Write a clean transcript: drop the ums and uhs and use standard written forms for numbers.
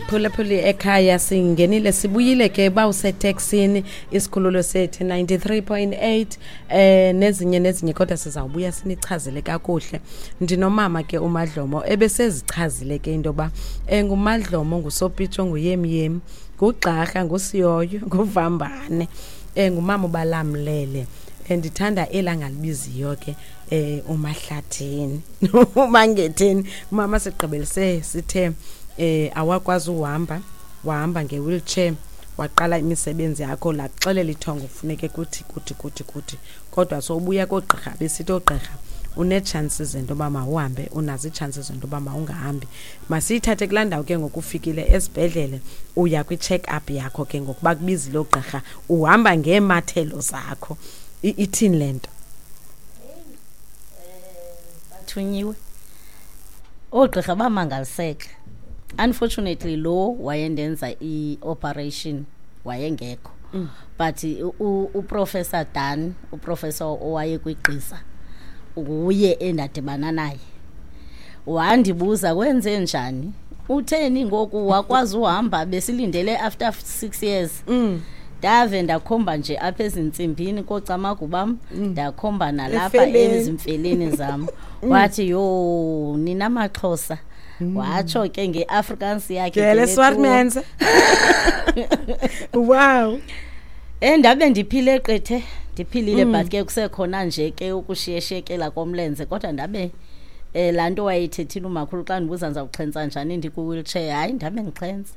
Phulaphuli ekhaya, singenile, sibuyile ke. Uba useteksini, isikhululo sethu 93.8 nezinye nezinye, kodwa sizawubuya sinichazele kakuhle. Ndinomama ke uMadlomo, ebesezichazile ke into yoba nguMadlomo, ngusopitsho, nguyemyem, ngugxarha, ngusiyoyo, nguvambane, ngumama ubalamlele. Ndithanda elangalibiziyo ke uMahlathini, uMangetheni. Umama sigqibelise sithe awakwazi uhamba, wahamba nge-wheelchair, waqala imisebenzi yakho, lakuxelela ithongo kufuneke kuthi kuthi kuthi kuthi, kodwa sowubuya koogqirha, besithi oogqirha unee-chances zento yoba mawuhambe, unazo ii-chances zento yoba mawungahambi. Masiyithathe kulaa ndawo ke ngoku. Ufikile esibhedlele, uya kwi-check up yakho ke ngokuba kubizile oogqirha, uhamba ngeemathelo zakho. Ithini le nto? Bathunyiwe oogqirha, bamangaliseka. Unfortunately lo wayendenza i-operation wayengekho, but uProfessor Dan, uprofessor owayekwigqisa, nguye endadibana naye. Wandibuza, "Kwenze njani? Utheni ngoku wakwazi uhamba? Besilindele after 6 years." Ndave ndakhomba nje apha ezintsimbini koocamagu bam, ndakhomba nalapha Efele. Ezimfeleni zam. Wathi, "Yho, nina maXhosa," watsho ke ngeAfrikaans yakhe. Gele ke swart lethu. Mense, wow. Ndabe ndiphile qethe, ndiphilile, but ke kusekhona nje ke ukushiyeshekela komlenze, kodwa ndabe laa nto wayeyithethile umakhulu xa ndibuza ndizawuxhentsa njani ndikwi-wheelchair, hayi, ndabe ndixhentsa.